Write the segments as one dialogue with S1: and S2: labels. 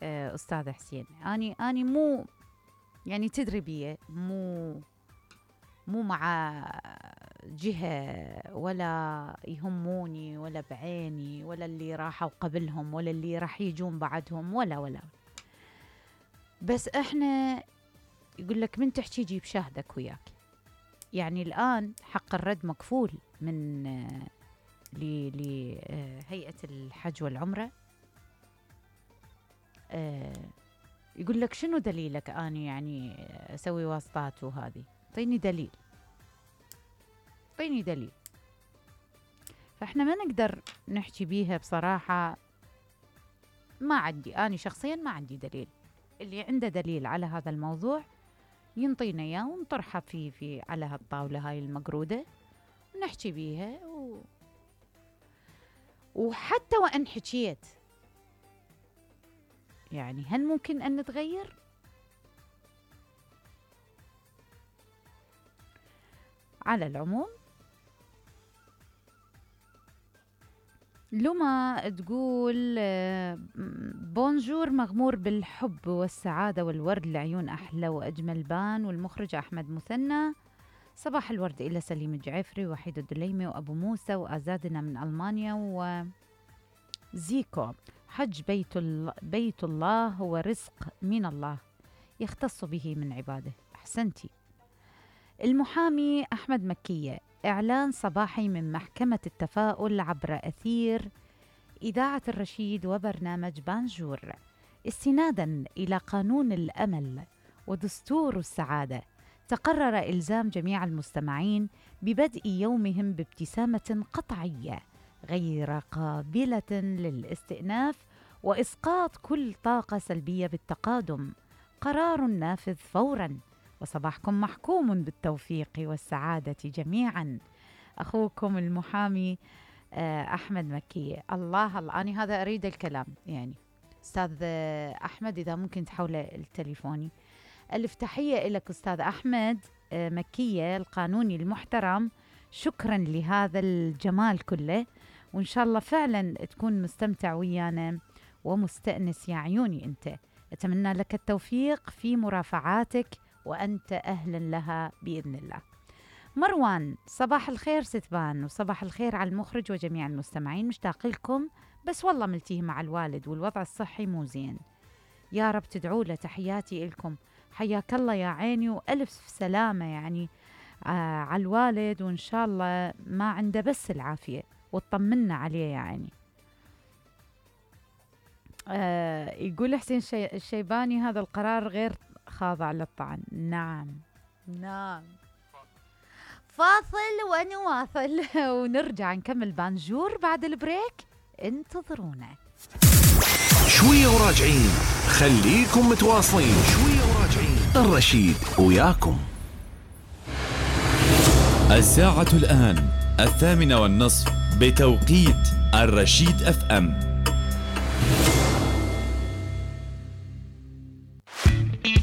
S1: أستاذ حسين، أني مو يعني تدري بيه، مو مع جهة ولا يهموني ولا بعيني ولا اللي راحوا قبلهم ولا اللي راح يجون بعدهم ولا بس احنا يقول لك من تحكي جيب شاهدك وياك. يعني الآن حق الرد مكفول من لهيئة الحج والعمرة. يقول لك شنو دليلك أني يعني أسوي واسطات وهذه؟ اعطيني دليل. فاحنا ما نقدر نحكي بيها بصراحة. ما عندي، أنا شخصيا ما عندي دليل. اللي عنده دليل على هذا الموضوع ينطينا اياه ونطرحه في على هالطاولة هاي المقرودة ونحكي بيها وحتى وإن حكيت يعني هل ممكن أن نتغير؟ على العموم لما تقول بونجور مغمور بالحب والسعادة والورد لعيون أحلى وأجمل بان، والمخرج أحمد مثنى. صباح الورد إلى سليم الجعفري وحيد الدليمي وأبو موسى وأزادنا من ألمانيا وزيكو. حج بيت الله هو رزق من الله يختص به من عباده. أحسنتي. المحامي أحمد مكية. إعلان صباحي من محكمة التفاؤل عبر أثير إذاعة الرشيد وبرنامج بانجور، استناداً إلى قانون الأمل ودستور السعادة. تقرر إلزام جميع المستمعين ببدء يومهم بابتسامة قطعية غير قابلة للاستئناف وإسقاط كل طاقة سلبية بالتقادم. قرار نافذ فوراً، وصباحكم محكوم بالتوفيق والسعادة جميعاً. أخوكم المحامي أحمد مكي. الله أنا هذا أريد الكلام يعني. أستاذ أحمد إذا ممكن تحول التليفوني. ألف تحية لك أستاذ أحمد مكية القانوني المحترم. شكراً لهذا الجمال كله، وإن شاء الله فعلاً تكون مستمتع ويانا ومستأنس يا عيوني أنت. أتمنى لك التوفيق في مرافعاتك وأنت أهلاً لها بإذن الله. مروان. صباح الخير ستبان، وصباح الخير على المخرج وجميع المستمعين. مشتاق لكم، بس والله ملتيه مع الوالد والوضع الصحي مو زين. يا رب تدعوا له. تحياتي لكم. حياك الله يا عيني، وألف سلامة يعني على الوالد، وإن شاء الله ما عنده بس العافية وطمنا عليه يا عيني. يقول حسين الشيباني هذا القرار غير خاضع للطعن. نعم فاصل ونواصل ونرجع نكمل بانجور بعد البريك. انتظرونا
S2: شوية وراجعين. خليكم متواصلين. شوية وراجعين. الرشيد وياكم.
S3: الساعة الآن 8:30 بتوقيت الرشيد FM.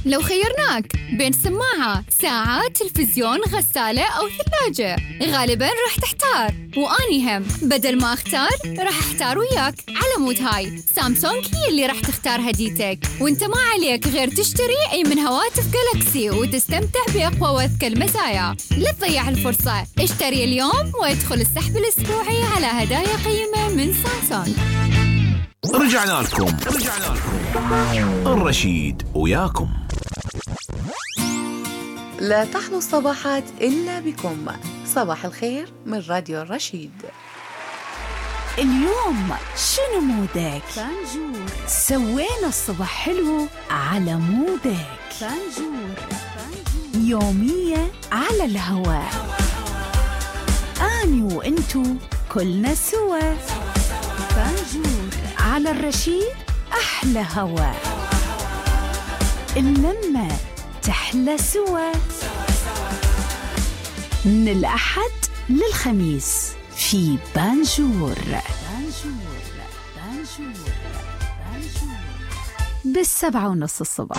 S4: لو خيرناك بين سماعة، ساعة، تلفزيون، غسالة أو ثلاجة، غالباً راح تحتار. وأني هم بدل ما أختار راح أحتار وياك. على مود هاي سامسونج هي اللي راح تختار هديتك، وانت ما عليك غير تشتري أي من هواتف جالاكسي وتستمتع بأقوى وأذكى المزايا. لا تضيع الفرصة، اشتري اليوم وادخل السحب الأسبوعي على هدايا قيمة من سامسونج.
S2: رجعنا لكم. الرشيد وياكم.
S5: لا تحلو الصباحات إلا بكم. صباح الخير من راديو الرشيد.
S6: اليوم شنو مودك؟
S1: بانجور.
S6: سوينا الصبح حلو على مودك.
S1: بانجور.
S6: يومية على الهواء. أني وإنتو كلنا سوا.
S1: بانجور
S6: على الرشيد. أحلى هواء، اللمة تحلى سوا. من الأحد للخميس في بانجور. بال7:30 الصبح.